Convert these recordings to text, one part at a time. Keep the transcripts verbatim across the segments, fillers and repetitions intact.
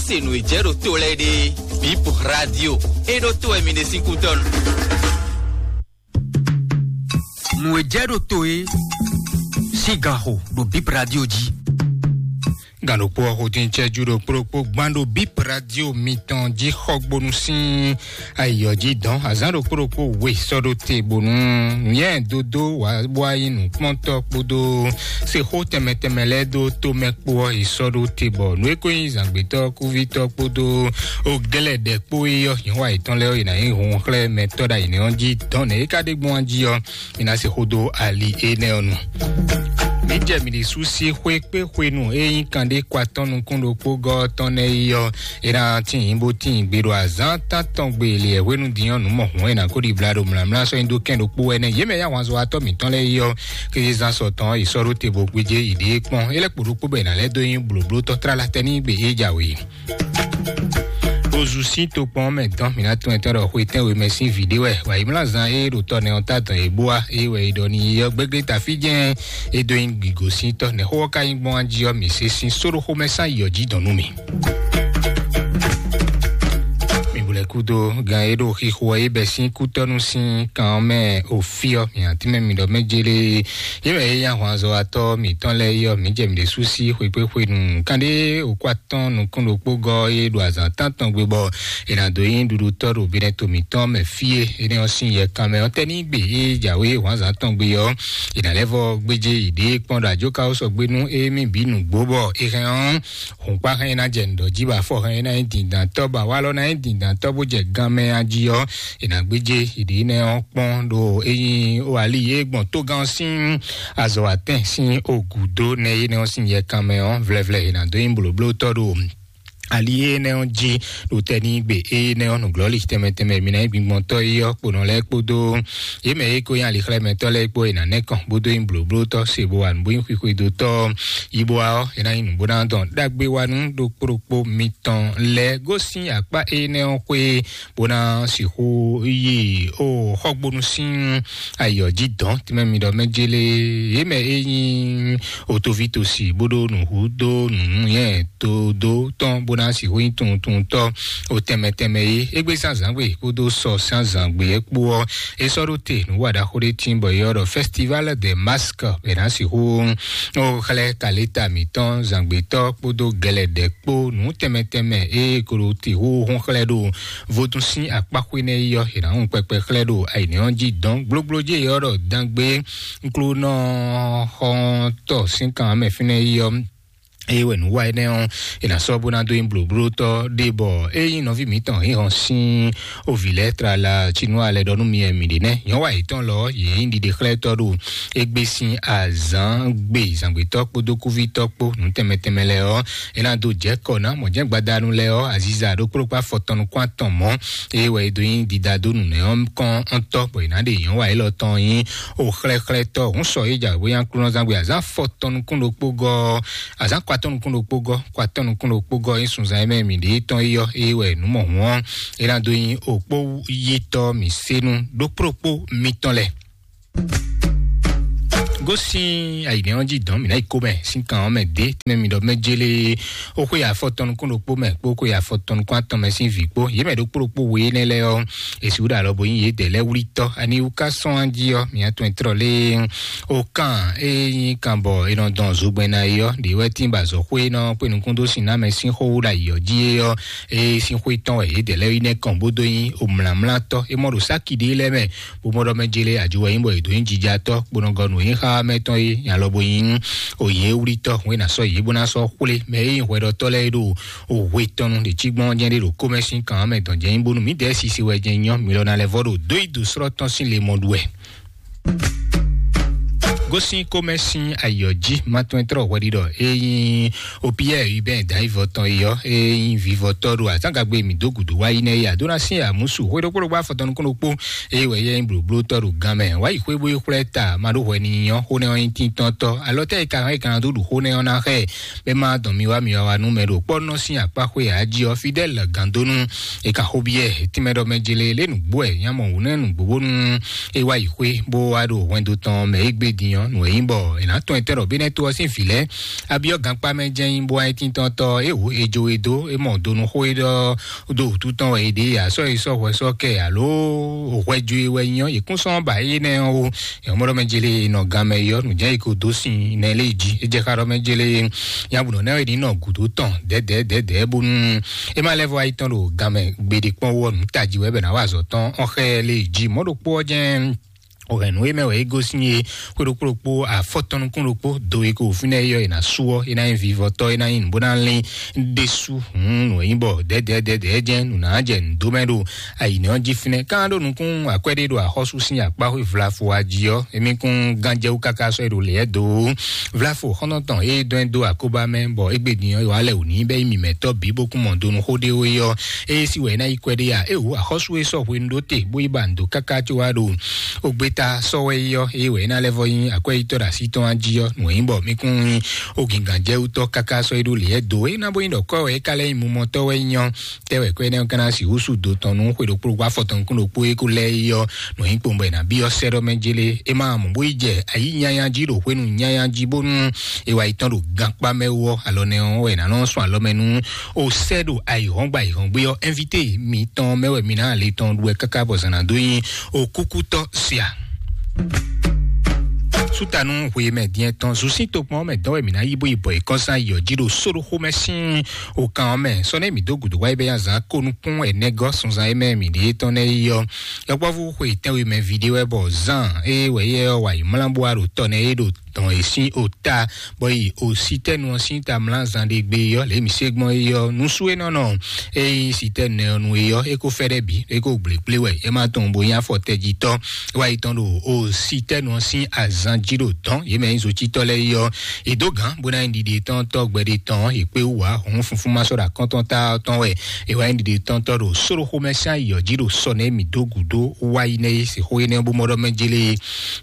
Se nǔ e jɛ ɖo to lɛ́ɛ ɖe, Bip Radio, e ɖo to wɛ mi ɖe sín kútɔ́nu. Nǔ e jɛ ɖo to e sín ganxo ɖo Bip Radio jí. Gǎn ɖokpó ɔ́ xo dín cɛ́jú ɖokpó ɖokpó gbán ɖo Bip Radio mitɔn jí xɔgbónu sín ayǐ ɔ́ jí dɔn azǎn ɖokpó ɖokpó we sɔ́ ɖó te bónú nyɛ dódó wǎ bó wá nyí nǔkpɔ́ntɔ́ kpódó sexó tɛnmɛ tɛnmɛ lɛ́ɛ dó tomɛ kpó ɔ́ yi sɔ́ ɖó te bɔ nǔ e ko nyí zǎngbétɔ́ kúvítɔ́ kpódó oglɛ́ɖɛ̌ kpó é ɔ́ nyǐ wa yětɔn lɛ́ɛ ɔ́, yě ná nyí hun xlɛ́ mɛ tɔ́ ɖo ayǐ nɛ́ ɔ́ jí dɔn nɛ̌ é ka ɖe gbɔn jí ɔ́, mi ná se xó dó ali énɛ́ ɔ́ nu. Mi jɛ mi ɖi sú sí xwé kpé xwenu e nyí kanɖé kɔ atɔ́ nukún ɖokpó gɔ́ tɔn nɛ́ yi ɔ́, é ná tín bó tín gbe ɖo azǎn tántɔn gbe lě hwenu dín ɔ́ nǔ mɔ hǔn e ná ko ɖi bla ɖo mlǎmlá sɔ́ nyi dó kɛn ɖokpó wɛ nɛ́. Yě mɛ yá wǎn zɔ atɔ́ mǐtɔn lɛ́ɛ yi ɔ́, kéze zán sɔ tɔn yi sɔ́ ɖó te bó gbéjé yi ɖě kpɔ́n. É lɛ́ kpo ɖokpó bɔ è nǎ lɛ́ dó nyí blǒblótɔ́ tlala tɛ́ n'i gbe é jǎwe. Ozu sín tokpɔn mɛ dɔn mǐ ná tún ɛtɔn ɖɔ xwe tɛ́nwe mɛ sín vǐ ɖé wɛ wǎyímlázan e ɖo tɔ nɛ ɔ́ ta dɔn e bó wá e wɛ e ɖɔ n'i ɔ́ gbégbé tafí jɛ́n e dó nyí gǐgosíntɔ́ nɛ̌ xó ɔ́ ka nyí gbɔn jí ɔ́, mǐ se sín sóɖó xomɛ sán yi ɔ́ jí dɔn nú mì. Mi bu lɛ kúdo gan e ɖo xixo ɔ́ e bɛ sín kútɔ́nú sín kan ɔ́ mɛ òfí ɔ́, mǐ atínmɛ mi ɖɔ mɛ jélé. Yě mɛ e nyí ahwanzɔ́watɔ́ mǐtɔn lɛ́ɛ é ɔ́, mǐ jɛ mǐ ɖésú sí xwekpéxwenu kanɖé òkú atɔ́ɔ́n nukún ɖokpó gɔ́ e ɖo azǎn tántɔn gbe bɔ è nǎ dó nyí ɖuɖutɔ́ ɖo binɛto mǐtɔn mɛ fí e énɛ́ ɔ́ sín yɛkan mɛ ɔ́ tɛ́ ní gbe e jǎwe wǎnzǎn tɔn gbe ɔ́, è nǎ lɛ́ vɔ gbéjé yi ɖě kpɔ́n ɖo ajɔ́ká ɔ́ sɔgbe nú émí bǐ nǔgbó bɔ è hɛn ɔ́, hǔnkpá hɛn ná jɛ nǔɖɔ jí bɔ afɔ hɛn ná nyí dǐndǎntɔ́ bɔ awalɔ ná nyí dǐndǎntɔ́ bó jɛ gan mɛ a jí ɔ́, è nǎ gbéjé yi ɖě nɛ́ ɔ́ kpɔ́n ɖo é nyí ali e gbɔn tógán ɔ́ sín azɔ̌ atɛn sín ogǔdó nɛ énɛ́ ɔ́ sín yɛkan mɛ ɔ́, vlɛvlɛ è nǎ dó nyí blǒblótɔ́ ɖo ali énɛ́ ɔ́ jí ɖo tɛ́ ní gbe énɛ́ ɔ́ nǔglɔ́li tɛnmɛ tɛnmɛ mi ná nyí gbingbɔntɔ́ é ɔ́ kponɔ lɛ́ɛ kpódó yě mɛ e ko nyí alixlɛ́mɛtɔ́ lɛ́ɛ kpó è nǎ nɛ́ kɔn bó dó nyí blǒblótɔ́ se bó wa nǔ bó nyí xwixwedótɔ́ yi bó wa ɔ́, é ná nyí nǔ bó ná dɔn ɖagbe wa nú ɖokpó ɖokpó mitɔn lɛ́ɛ gosín akpá énɛ́ ɔ́ xwé bó ná sixú yi ó xɔgbónu sín ayǐ ɔ́ jí dɔn tɛmɛ mi ɖɔ mɛ jélé yě mɛ é nyí otoví tosi bó ɖó nǔhú dó nǔnúnyɛ tó dó tɔn bó ná sixú nyí tuntuntɔ́ o tɛmɛ tɛmɛ é égbé zán zǎngbe kpódó sɔ zán zǎngbe é kpó ɔ́, é sɔ́ ɖó te nǔ wa ɖaxó ɖé tín bɔ é ɔ́ ɖɔ festival de masque è nǎ sixú ó xlɛ́ kaléta mǐtɔn zǎngbetɔ́ kpódó gɛlɛdɛ̌ kpó nǔ tɛnmɛ tɛnmɛ e ko ɖo te xóxó xlɛ́ ɖo vodún sín akpáxwé nɛ́ yi ɔ́, è nǎ hun kpɛkpɛ xlɛ́ ɖo ayǐnɛ́ ɔ́ jí dɔn gblógbló jí e ɔ́ ɖɔ dangbé nklónɔ xɔ́ntɔ́ sín kan mɛ fínɛ́ yi ɔ́. Eye wɛ nǔ wa énɛ́ ɔ́, è nǎ sɔ́ bó ná dó nyí blǒblótɔ́ ɖé bɔ é nyí nɔví mǐtɔn hǐnhɔn sín ovǐ lɛ́ɛ tlala cínú alɛ ɖɔ nú mi wɛ mǐ ɖe nɛ́. Nyɔ̌wa yětɔn lɔ ɔ́, yě nyí ɖiɖexlɛ́tɔ́ ɖo égbé sín azǎn gbe zǎngbetɔ́ kpódó kúvítɔ́ kpó nǔ tɛnmɛ tɛnmɛ lɛ́ɛ ɔ́, é ná dó jɛ kɔ ná mɔ̌ jɛ́n gbadanu lɛ́ɛ ɔ́, aziza ɖokpó ɖokpó afɔtɔn nukún atɔn mɔ̌. Eye wɛ é dó nyí didadó nǔnɛ́ ɔ́ kɔn ɔ́ntɔ́ bɔ è nǎ ɖe nyɔ̌wa élɔ́ tɔn nyí o xlɛ́xlɛ́tɔ́ hǔn sɔ é jɛ awěnyaklúnɔzán gbe azǎn afɔtɔn nukún ɖokpó gɔ́ azǎn kɔ atɔ́ nukún ɖokpó gɔ́ kɔ atɔ́ nukún ɖokpó gɔ́ nyí sunzan e mɛ mǐ ɖe tɔn yi ɔ́, eye wɛ nǔ mɔ hǔn ɔ́, é ná dó nyí òkpó yítɔ́ mǐ se nú ɖokpó ɖokpó mitɔn lɛ́ɛ. Gosín ayǐnɛ́ ɔ́ jí dɔn mǐ ná yi kó mɛ sín kan ɔ́ mɛ dě tɛ́ mɛ mi ɖɔ mɛ jélé ó xwé afɔtɔn nukún ɖokpó mɛ kpó xwé afɔtɔn nukún atɔn mɛ sín vǐ kpó yě mɛ ɖokpó ɖokpó we énɛ́ lɛ́ɛ ɔ́, è sixú ɖo alɔ bo nyí yědɛɛ lɛ́ɛ wlítɔ́. Ani wú ká sɔ́n á jí ɔ́, mǐ atɔn e tlɔ lé ó kán e nyí kan bɔ è nɔ dɔn zogbɛ́n ná é ɔ́, ɖě wɛ tín ba azɔ̌xwé nɔ kpé nukún dó sin ná mɛ sín xó wú ɖo ayǐ ɔ́ jí é ɔ́, é sín xwé tɔn wɛ yědɛɛ lɛ́ɛ yi nɛ́ kɔn bó dó nyí omlǎmlátɔ́. É mɔ ɖo sáki ɖé lɛ́ɛ mɛ bó mɔ ɖɔ mɛ jélé ajo wɛ nyí bɔ è dǒ nyí jijatɔ́ kponɔgɔnu e nyí xá mɛ tɔn é nya lɔ bo nyí òyìn e wlítɔ́ hwé ná sɔ́ yě bó ná sɔ́ xwlé mɛ e nyí hwɛɖɔtɔ́ lɛ́ɛ é ɖo òhwe tɔn nu ɖě cí gbɔn jɛ́n ɖé ɖo kómɛsín kan ɔ́ mɛ dɔn jɛ́n nyí bónú mǐdɛɛ sisi wɛ jɛ́n nyɔ́ mi lɔ ná lɛ́ vɔ ɖo dó yi dǒ srɔ́ tɔn sín le mɔ ɖu wɛ. Gosín kómɛ sín ayǐ ɔ́ jí, ma tɔn trɔ hwɛɖiɖɔ e nyí Opiyɛ Hubɛn Dayivɔ tɔn yi ɔ́, e nyí vivɔtɔ́ ɖo azǎngagbe mǐ dó gǔdo wá yi nɛ́ yi Adona sín amǔsu xwé ɖokpó ɖokpó afɔtɔn nukún ɖokpó, eye wɛ yɛ nyí blǒblótɔ́ ɖo gan mɛ. Wǎ yi xwé bó yi xwlɛ́ ta ma ɖó hwɛ n'i nyɔ́, xó nɛ́ ɔ́ nyí tíntɔ́ntɔ́. Alɔ tɛ́ e ka hɛn e ka ná dó ɖu xó nɛ́ ɔ́ ná xɛ, bɛ́ má dɔn mi wá mi wá wa nú mɛ ɖo kpɔ́ nɔ sín akpá xwé ǎ jí ɔ́, Fidɛ́l Gǎndónú. È ka xo byɔ́ ɛ tínmɛ ɖɔ mɛ jele lé nǔgbó ɛ nyá mɔ wǔ nɛ́ nǔgbó bónú é wá yi xwé bó wá ɖo hwɛndo tɔn mɛ é gbé din Nǔ e nyí bɔ è nǎ tɔn etɛ́ ɖɔ bí nɛ́ tó ɔ́ sín vǐ lɛ́ɛ abyɔ́ gankpá mɛ jɛ́n nyí bó wá é tíntɔ́n tɔ́ é wǔ é jo e dó é mɔ donu xó é ɖɔ dó wǔtu tɔn wɛ é ɖe ya sɔ́ yi sɔ́ hwɛ sɔ́ kɛ alo hwɛ jo e wɛ nyí ɔ́, yě kún sɔ́ ba énɛ́ ɔ́ ó. Yɔmɔɖɔ mɛ jele nɔ gan mɛ yɔ nǔ jẹ́ yi ko dó sin nɛ lé jí é jẹ́ xá ɖɔ mɛ jele nyabunɔ nɛ ní nɔ gǔdo tɔn dɛdɛdɛdɛ bónú é má lɛ́ vɔ ayi tɔn ɖo gan mɛ gbeɖe kpɔ́n wɔ nǔ tají wɛ bɛ ná wa azɔ tɔn ɔn xɛ lé jí mɔ̌ ɖokpó ɔ́ jẹ́. Òhɛn nǔ e mɛ wɛ é gosín é xwé ɖokpó ɖokpó afɔtɔn nukún ɖokpó do e ko fínɛ́ é yɔ é ná sú ɔ́ é ná nyí vivɔtɔ́ é ná nyí nǔ bó ná lín ɖésú. Hǔn nǔ e nyí bɔ dɛdɛdɛdɛ jẹ́ nǔ ná jɛ nǔ dó mɛ ɖo ayǐnɛ ɔ́ jí fínɛ́. Ká ɖó nukún akwɛ́ ɖé ɖo axɔ́sú sín akpá xwé vlafo wá jí ɔ́, émí kún gánjɛwú káká sɔ́ é ɖo lě ɛ dó ó. Vlafo xɔ́ntɔn tɔn é dɔn ɛ dó akóbá mɛ bɔ égbé din ɔ́ wa lɛ wǔ ní bɛ nyí mǐmɛtɔ́ bǐ bó kún mɔ donu xó ɖé ó é ɔ́, é sí wɛ é ná yi kwɛ ɖé a? É wǔ axɔ́sú é sɔ́ hwenu ɖó te bó yi ba nǔ dó káká có wá ɖo ogbéta sɔ́ wɛ é ɔ́, é wɛ é ná lɛ́ vɔ nyí akwɛ́yítɔ́ ɖo así tɔn jí ɔ́, nǔ e nyí bɔ mí kún nyí ogǐngǎnjɛwútɔ́ káká sɔ́ é ɖó lě ɛ dó é ná bó nyí ɖɔ kɔ́ wɛ é ka lɛ́ nyí mumɔtɔ́ wɛ é nyí ɔ́, tɛ́ wɛ kɔ énɛ́ ɔ́ ka ná sixú sú do tɔn nú xwe ɖokpó ɖokpó afɔtɔn nukún ɖokpó é kó lɛ́ yi ɔ́, nǔ nyí kpowun bɔ è nǎ byɔ́ sɛ́ ɖɔ mɛ jélé. É má mɔ bó yi jɛ ayǐ nyanya jí ɖo hwenu nyanya jí bónú è wá yi tɔn ɖo gankpá mɛ wú ɔ́, alɔ nɛ ɔ́ wɛ è nǎ nɔ sɔn alɔ mɛ nú o sɛ́ ɖo ayǐhɔ́ngbe ayǐhɔ́ngbe ɔ́. Invité mitɔn mɛ wɛ mi ná le tɔn ɖu wɛ káká bɔ zǎn ná dó nyi o kúkútɔ́ sia. Sútanu hwe mɛ diɛ tɔn zun sín tokpɔn mɛ dɔn wɛ mi ná yí bó yi bɔ ìkɔnsán yɔ jí ɖo sóɖó xomɛ sín o kan ɔ́ mɛ sɔ́ nɛ mi dó gǔdo wáyé bɛ azán kó nukún ɛnɛgɔ́ sunzan e mɛ mi ɖe tɔn nɛ yi ɔ́. Yɔkpɔ́vú xwe tɛnwe mɛ vi ɖé wɛ bɔ zan e wɛ yɛ ɔ́ wa yi mlá bó wa ɖo tɔ nɛ e ɖo dɔn e sín o ta bɔ yi o sitɛnu ɔ́ sín ta mlá zan ɖe gbe yɔ lě mi se gbɔn e yɔ nusú e nɔ nɔ e sitɛnu nɛ ɔ́ nu e yɔ e ko fɛ ɖɛ bi e ko gblégblé wɛ e ma tɔn bo nyí afɔ tɛjitɔ. Wa yi tɔn ɖo o sitɛnu ɔ́ sín azan jí ɖo dɔn yě mɛ nyí zocitɔ lɛ yɔ e dó gǎn bó ná nyí ɖiɖe tɔn tɔ gbɛɖe tɔn e kpé wú wá hɔn funfun ma sɔ ɖo akɔntɔn ta tɔn wɛ e wá nyí ɖiɖe tɔn tɔ ɖo sóɖo xomɛ sín ayɔ jí ɖo sɔ nɛ mi dó gǔdo wá yi nɛ e se xó énɛ́ bó mɔ ɖɔ mɛ jélé.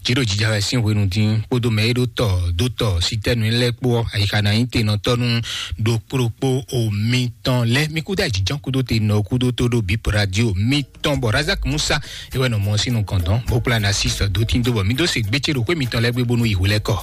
Jí ɖo jija wɛ sín hwenu dín kpódó mɛ e ɖó tɔ dó tɔ sitɛnu lɛ́ɛ kpó ɔ́, ayixa ná nyí tenɔtɔ́ nú ɖokpó ɖokpó omi tɔn lɛ́ɛ. Mi kúdó ajijɔ́n kúdó te nɔ kúdó tó ɖo bip radio mi tɔn bɔ Razak Musa e wɛ nɔ mɔ sínú kɔndɔn bó kplá na sísɔ dó tín dó bɔ mi dó se gbétsé ɖo xwé mitɔn lɛ́ɛ gbé bónú yi hwelɛ́kɔ.